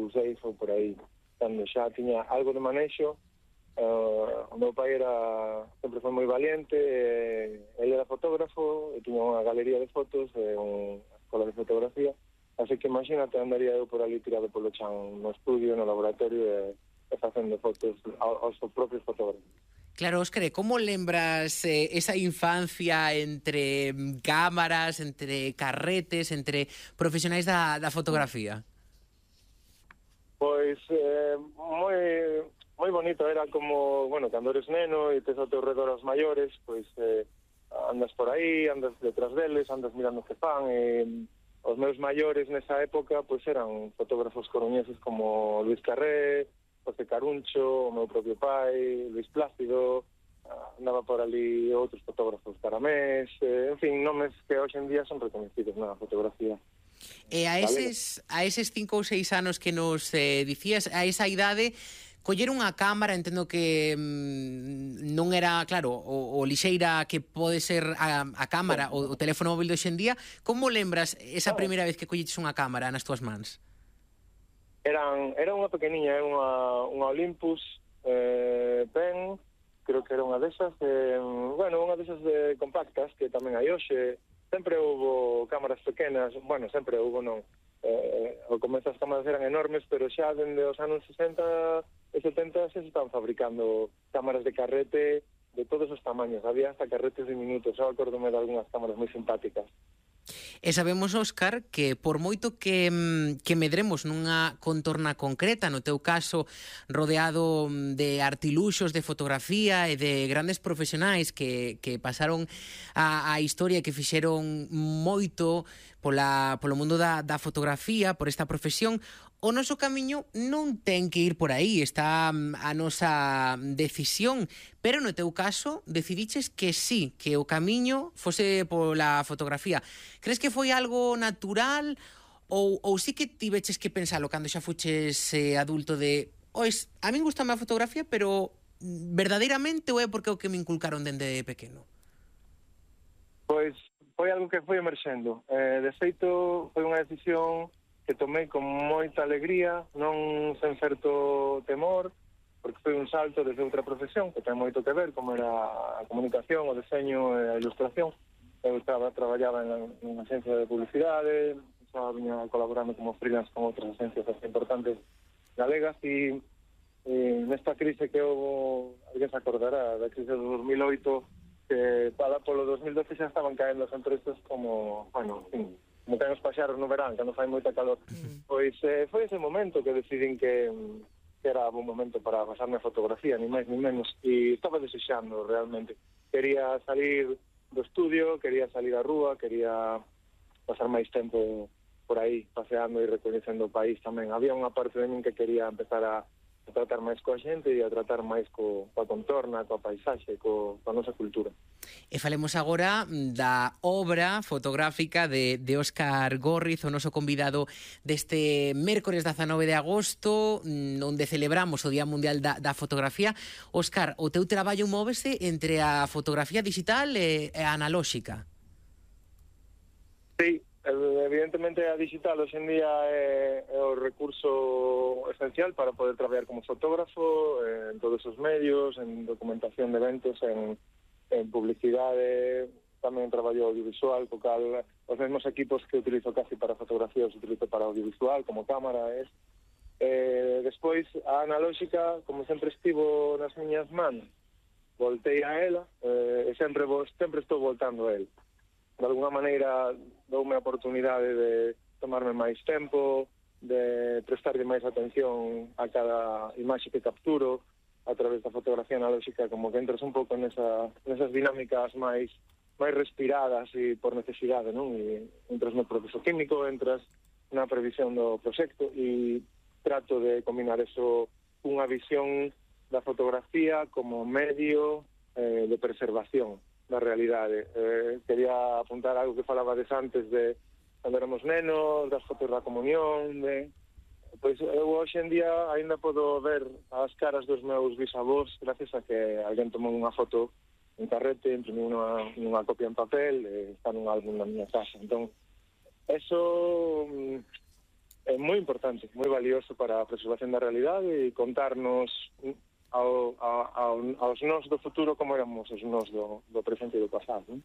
ou 6 ou por aí, cando xa tiña algo de manexo. O meu pai sempre foi moi valiente, ele era fotógrafo e tiña unha galería de fotos e unha escola de fotografía, así que imagínate, andaría eu por ali tirado polo chan no estudio, no laboratorio e facendo fotos aos propios fotógrafos. Claro, Óscar, como lembras esa infancia entre cámaras, entre carretes, entre profesionais da fotografía? Pois moi bonito, era como, bueno, cando eres neno e tes ao teu redor os maiores, pois andas por aí, andas detrás deles, andas mirando o que fan, e os meus maiores nesa época pois eran fotógrafos coruñeses como Luis Carré, José Caruncho, o meu propio pai, Luis Plácido, andaba por ali outros fotógrafos, Caramés, en fin, nomes que hoxe en día son reconhecidos na fotografía. E a eses 5 ou 6 anos que nos dicías, a esa idade, coller unha cámara, entendo que non era, claro, o lixeira que pode ser a cámara, o teléfono móvil de hoxe en día. Como lembras esa primeira vez que colleches unha cámara nas túas mans? Era unha pequeniña, unha Olympus Pen, creo que era unha desas, unha desas compactas que tamén hai hoxe. Sempre houbo cámaras pequenas, bueno, sempre houbo non. Ao comezo as cámaras eran enormes, pero xa dende os anos 60 e 70 se están fabricando cámaras de carrete de todos os tamaños. Había hasta carretes diminutos, xa acordome de algunhas cámaras moi simpáticas. E sabemos, Óscar, que por moito que medremos nunha contorna concreta, no teu caso rodeado de artiluxos de fotografía e de grandes profesionais que pasaron a historia, que fixeron moito polo mundo da fotografía, por esta profesión, o noso camiño non ten que ir por aí, está a nosa decisión, pero no teu caso decidiches que sí, que o camiño fose pola fotografía. Crees que foi algo natural ou sí que tiveches que pensalo cando xa fuches adulto de a min gustame a fotografía, pero verdadeiramente ou é porque é o que me inculcaron dende pequeno? Pois foi algo que foi emerxendo. De feito, foi unha decisión que tomei con moita alegría, non sen certo temor, porque foi un salto desde outra profesión que ten moito que ver, como era a comunicación, o deseño e a ilustración. Eu traballaba en unha agencia de publicidade, xa viña colaborando como freelance con outras agencias importantes galegas, e nesta crise que houve, alguén se acordará, da crise do 2008, que para polo 2012 xa estaban caendo as empresas como, bueno, en fin, como ten os paxaros no verán, cando fai moita calor. Pois foi ese momento que decidín que era un momento para pasarme a fotografía, ni máis ni menos, e estaba desexando realmente. Quería salir do estudio, quería salir á rúa, quería pasar máis tempo por aí, paseando e recoñecendo o país tamén. Había unha parte de min que quería empezar a tratar máis coa xente e a tratar máis coa contorna, coa paisaxe, coa nosa cultura. E falemos agora da obra fotográfica de Óscar Górriz, o noso convidado deste mércores 19 de agosto, onde celebramos o Día Mundial da Fotografía. Óscar, o teu traballo móvese entre a fotografía digital e a analóxica. Sí, evidentemente a digital hoxe en día é o recurso esencial para poder traballar como fotógrafo en todos os medios, en documentación de eventos, en publicidade, tamén traballo audiovisual, co cal os mesmos equipos que utilizo casi para fotografía os utilizo para audiovisual, como cámara. Despois, a analóxica, como sempre estivo nas miñas mans, voltei a ela e sempre estou voltando a ela. De alguna maneira doume a oportunidade de tomarme máis tempo, de prestarlle máis atención a cada imaxe que capturo a través da fotografía analóxica, como que entras un pouco nesas dinámicas máis respiradas e por necesidade, non? E entras no proceso químico, entras na previsión do proxecto e trato de combinar eso cunha visión da fotografía como medio de preservación da realidade. Quería apuntar algo que falabades antes de cando éramos nenos, das fotos da comunión, pois eu hoxe en día ainda podo ver as caras dos meus bisavós gracias a que alguén tomou unha foto en carrete, imprimiu unha copia en papel e está nun álbum na miña casa. Entón, eso é moi importante, moi valioso para a preservación da realidade e contarnos aos nós do futuro como éramos os nós do presente e do pasado, non?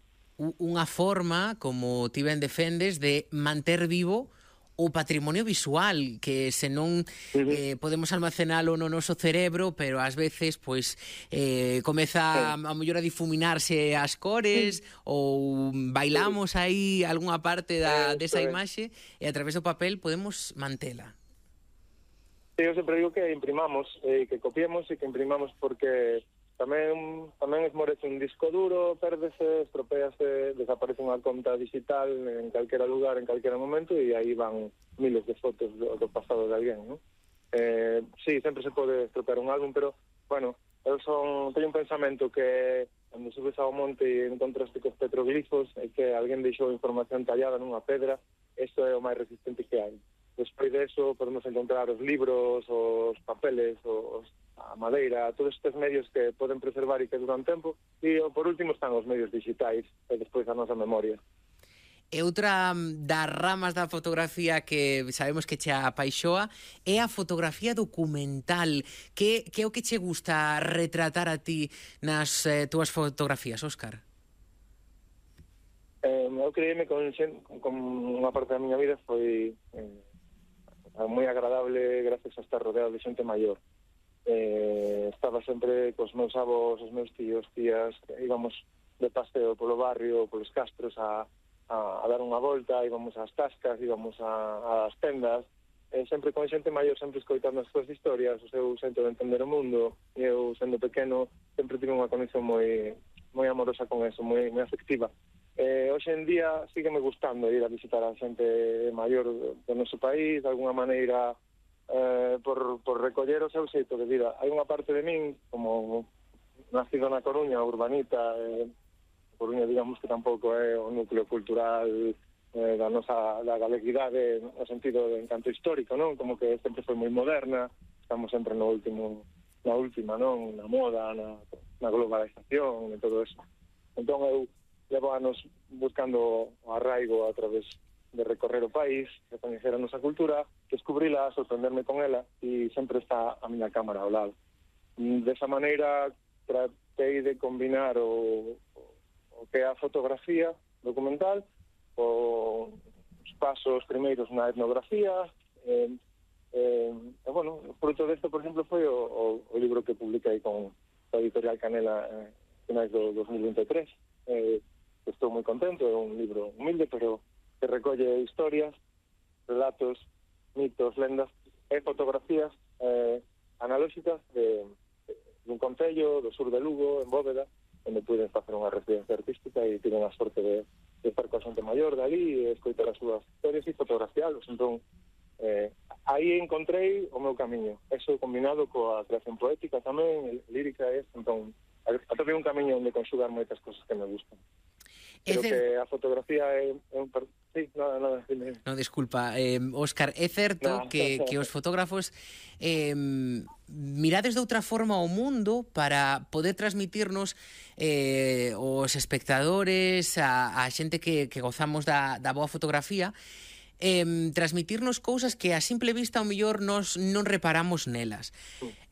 Unha forma, como ti ben defendes, de manter vivo o patrimonio visual, que senón podemos almacenalo no noso cerebro, pero ás veces pois comeza a mellor a difuminarse as cores ou bailamos aí algunha parte desa imaxe e a través do papel podemos mantela. Eu sempre digo que imprimamos, que copiemos e que imprimamos porque tamén esmorece un disco duro, pérdese, estropéase, desaparece unha conta digital en calquera lugar, en calquera momento, e aí van miles de fotos do pasado de alguén, non? Sí, sempre se pode estropear un álbum, pero, bueno, teño un pensamento que cando subes ao monte e encontraste cos petroglifos e que alguén deixou información tallada nunha pedra, isto é o máis resistente que hai. Despois de eso podemos encontrar os libros, os papeles, a madeira, todos estes medios que poden preservar e que duran tempo, e por último están os medios digitais e despois a nosa memoria. E outra das ramas da fotografía que sabemos que che apaixoa é a fotografía documental. Que é o que che gusta retratar a ti nas túas fotografías, Óscar? Eu creíme con unha parte da miña vida foi moi agradable gracias a estar rodeado de xente maior. Estaba sempre cos meus avós, os meus tíos, tías, íbamos de paseo polo barrio, polos castros a dar unha volta, íbamos ás tascas, íbamos ás tendas, sempre con xente maior, sempre escoitando as súas historias, o seu xento de entender o mundo, e eu, sendo pequeno, sempre tive unha conexión moi amorosa con eso, moi afectiva. Hoxe en día sígueme gustando ir a visitar a xente maior do noso país, de alguna maneira por recoller o seu xeito de vida. Hai unha parte de min, como nacido na Coruña, urbanita, Coruña, digamos que tampouco é o núcleo cultural da galeguidade no sentido de encanto histórico, non? Como que sempre foi moi moderna, estamos sempre na última, non? Na moda, na globalización e todo eso. Entón eu levo anos buscando o arraigo a través de recorrer o país, de coñecer a nosa cultura, descubrila, sorprenderme con ela, e sempre está a miña cámara ao lado. Desa maneira, tratei de combinar o que é a fotografía documental, os pasos primeiros na etnografía, bueno, o fruto desto, por exemplo, foi o libro que publiquei con a editorial Canela finais do 2023, estou moi contento, é un libro humilde, pero que recolle historias, relatos, mitos, lendas e fotografías analóxicas dun concello do sur de Lugo, en Bóveda, onde puiden facer unha residencia artística e tiven a sorte de estar coa xente maior dali e escoitar as súas historias e fotografialos. Entón, aí encontrei o meu camiño. Eso combinado coa creación poética tamén, lírica, entón, atopei un camiño onde conxugar moitas cosas que me gustan. Pero que a fotografía é un... Sí, nada. No, disculpa, Óscar, é certo que os fotógrafos mirades de outra forma ao mundo para poder transmitirnos os espectadores, a xente que gozamos da boa fotografía, transmitirnos cousas que a simple vista ao mellor nos non reparamos nelas.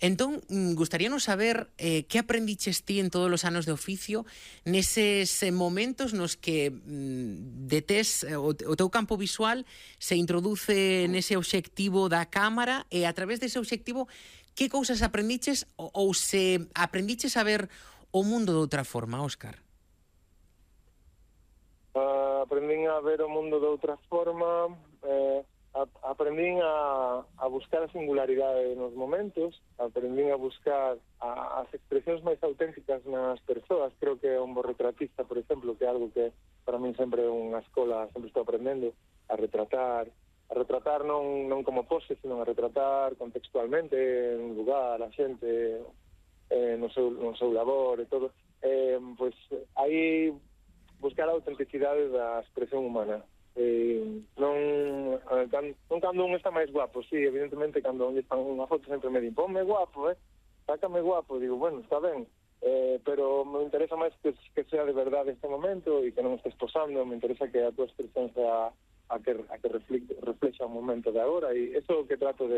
Entón, gustaríanos saber que aprendiches ti en todos os anos de oficio neses momentos nos que o teu campo visual se introduce nese obxectivo da cámara e a través dese obxectivo que cousas aprendiches ou se aprendiches a ver o mundo de outra forma, Óscar? Aprendín a ver o mundo de outra forma, aprendín a buscar a singularidade nos momentos, aprendín a buscar as expresións máis auténticas nas persoas. Creo que é un bo retratista, por exemplo, que é algo que para min sempre é unha escola, sempre estou aprendendo a retratar non como pose, sino a retratar contextualmente en lugar, a xente, no seu labor e todo. Pois aí buscar a autenticidade da expresión humana. Non cando un está máis guapo, sí, evidentemente cando un están unha foto sempre me din, ponme guapo, sácame guapo, digo, bueno, está ben, pero me interesa máis que sea de verdade este momento e que non estés posando, me interesa que a tua expresión sea reflexa o momento de agora, e eso é o que trato de